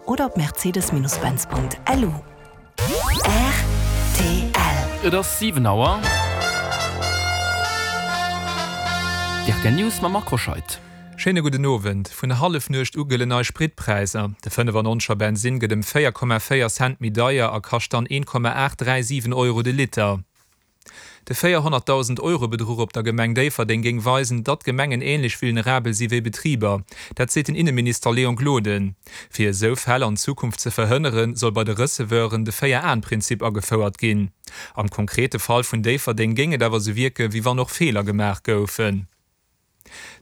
oder op mercedes-benz.lu. Rtl. Et ass 7 Auer. D'RTL News mam Marc Hoscheid. Schéine gudden Owend. Vun Hallefnuecht u gëllen nei Spritpräisser. De 95 er Bensinn gëtt ëm 4,4 Cent méi deier a kascht dann 1,837 Euro de Liter. De 400.000 Euro Bedruch op der Gemeng Déifferdeng géing weisen, datt Gemengen änlech vulnerabel si wéi Betriber. Dat seet den Inneminister Léon Gloden. Fir esou Fäll an Zukunft ze verhënneren, soll bei de Receveuren de Véier-Aen-Prinzip agefouert ginn. Am konkrete Fall vun Déifferdeng géing et awer esou wierken, wéi wann och Feeler gemaach goufen.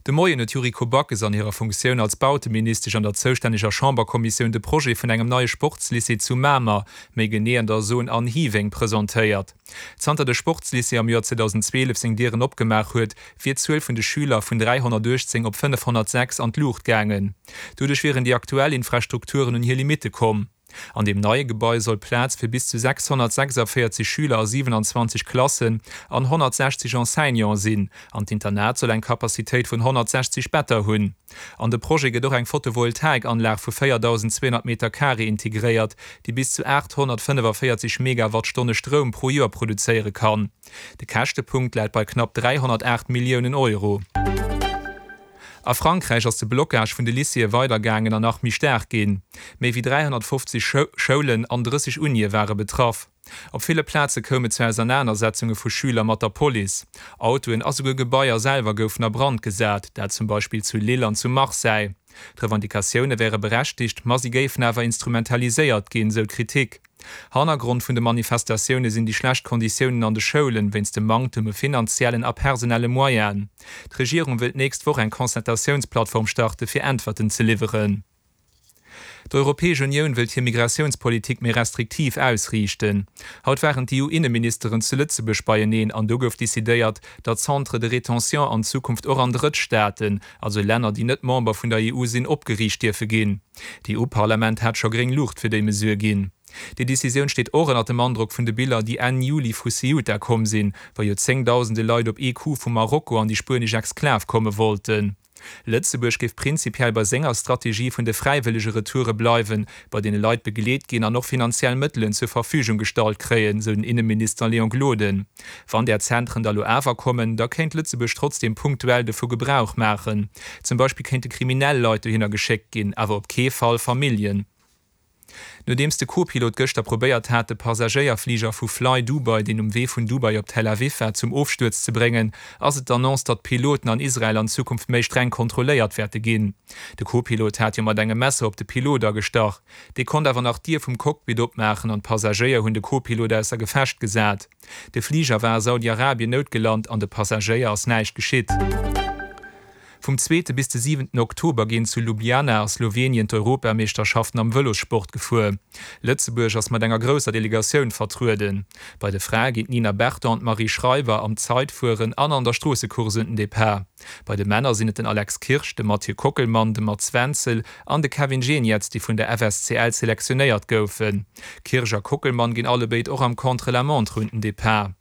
De Moien huet d'Yuriko Backes an hirer Funktioun als Bauteministesch an der zoustänneger Chamberkommissioun de Projet vun engem neie Sportslycée zu Mamer, méi genee an der Zone Anne Hieweng, presentéiert. Zanter de Sportslycée am Joer 2012 seng Dieren opgemaach huet, wier d'Zuel vun de Schüler vun 318 op 506 an d'Luucht gaangen. Doduerch wieren déi aktuell Infrastrukturen un hir Limitte komm. An deem neie Gebai soll Plaz fir bis zu 646 Schüler a 27 Klassen an 160 Enseignante sinn, an d'Internat soll eng Capacitéit vun 160 Better hunn. An de Projet gëtt och eng Photovoltaikanlag vu 4.200 Meter Carré integréiert, déi bis zu 845 Megawattstonne Stroum pro Joer produzéiere kann. De Käschtepunkt läit bei knapp 308 Milliounen Euro. A Frankräich ass de Blockage vun de Lycéeë weidergaangen an nach méi staark ginn. Méi wéi 350 Schoulen an 30 Unie ware betraff. Op ville Plaze koum et zu Ausernanersetzunge vu Schüler mat der Police. Autoen a souguer Gebaier selwer goufen a Brand gesat, dat zum Beispill zu Lille an zu Marseille. D'Revendicatioune wäre berechtigt, ma si géifen awer instrumentaliséiert ginn, sou d'Kritik. Hannergrond vun de Manifestatioune sinn déi schlecht Konditiounen an de Schoulen, wéinst dem Manktem u finanziellen a personelle Moyenen. D'Regierung wëll d'nächst Woch eng Concertatiounsplattform starte fir Äntwerten ze liwweren. D'Europäesch Unioun wëllt hir Migratiounspolitik méi restriktiv ausriichten. Haut waren d'EU-Inneministeren zu Lëtzebuerg beieneen an do gouf decidéiert, datt Centres de rétention an Zukunft och an Drëttstaaten, also Länner déi net Member vun der EU sinn, opgeriicht dierfe ginn. D'EU-Parlament hat scho gréng Luucht fir déi Mesure ginn. Déi Decisioun steet och ënnert dem Androck vun de Biller, déi Enn Juli vu Ceuta komm sinn, wou joerzéngdausende Leit op ee Coup vu Marokko an déi spuenesch Exklav komme wollten. Lëtzebuerg géif prinzipiell bei senger Strategie vun de fräiwëllege Retoure bleiwen, bei deene Leit begleet ginn an och finanziell Mëttelen zur Verfügung gestallt kréien, sou den Inneminister Léon Gloden. Wann där Zentren da lo awer kommen, da kéint Lëtzebuerg trotzdeem punktuell dovu Gebrauch maachen. Zum Beispill kéinte kriminell Leit dohinner geschéckt ginn, awer op kee Fall Familljen. Nodeems de Co-Pilot gëschter probéiert hat, de Passagéierfliger vu Fly Dubai, deen um Wee vun Dubai op Tel Aviv war, zum Ofstuerz ze bréngen, ass et d'Annonce, datt d'Piloten an Israel an Zukunft méi streng kontrolléiert wäerte ginn. De Co-Pilot hat jo mat engem Messer op de Pilot agestach. Dee konnt awer nach d'Dier vum Cockpit opmaachen an d'Passagéier hunn de Co-Pilot ausser Gefecht gesat. De Fliger war a Saudi-Arabien noutgelant an de Passagéier ass näischt geschitt. Vum zweete bis de siwenten Oktober ginn zu Ljubljana a Slowenien d'Europameeschterschaften am Vëlossport gefuer. Lëtzebuerg ass mat enger grousser Delegatioun vertrueden. Bei de Frae ginn d'Nina Berton an d'Marie Schreiber am Zaitfueren an an der Stroossecourse un den Depart. Bei de Männer sinn et den Alex Kirsch, de Mathieu Kockelmann, de Mats Wenzel an de Kevin Geniets, déi vun der FSCL selektionéiert goufen. Kirsch a Kockelmann ginn allebéid och am Contre-la-montre un den Depart.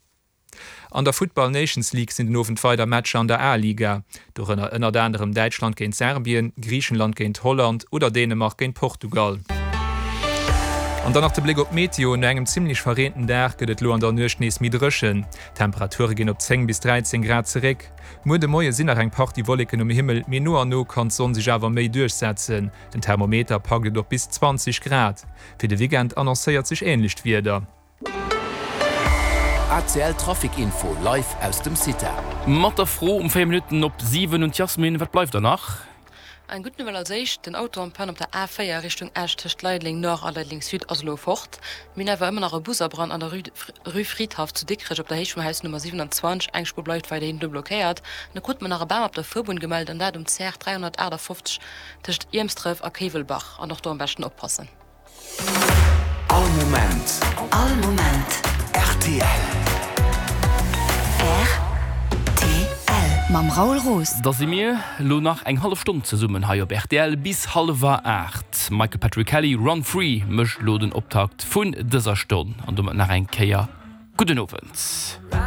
An der Futtball Nations League sinn den Owend weider Matcher an der A-Liga, dorënner ënnert anerem Däitschland géint Serbien, Griichenland géint Holland oder Dänemark géint Portugal. An dann nach de Bléck op d'Meteo, No engem zimmlech verreenten Dag gëtt et lo an der Nuecht nees méi dréchen. D'Temperature ginn op 10 bis 13 Grad zeréck. Muer de Moie sinn nach eng Partie Wolleken um Himmel, mee no an no kann d'Sonn sech awer méi duerchsetzen. Den Thermometer packt et op bis 20 Grad. Fir de Weekend annoncéiert sech änlecht Wieder. ACL Trafic Info live aus dem CITA. Mat der Fro um 4 Minutten op 7 un d'Yasmin, Wat bleift der nach? Eng gutt Nouvelle als éischt, Den Auto en panne op der A4 Richtung Esch tëscht Leideleng Nord a Leideleng Sud ass elo fort. Mir hunn awer ëmmer nach e Busabrand an der Rue Fridhaff zu Dikrech op der Héicht vum Haus Nummer 27. Eng Spuer bleift weiderhin do blockéiert. Da krute mer nach e Bam op der Fuerbunn gemellt an dat um CR 358 tëscht Iermsdref a Kéiwelbach. An och do am beschten oppassen. All Moment. All Moment. Rtl. Rtl. Mam Raoul Roos. Da si mir lo nach eng hallef Stonn zesummen hei op rtl bis hallwer 8. Michael Patrick Kelly, Run Free mécht lo den Optakt vun dëser Stonn an domat nach eng Kéier gudden Owend.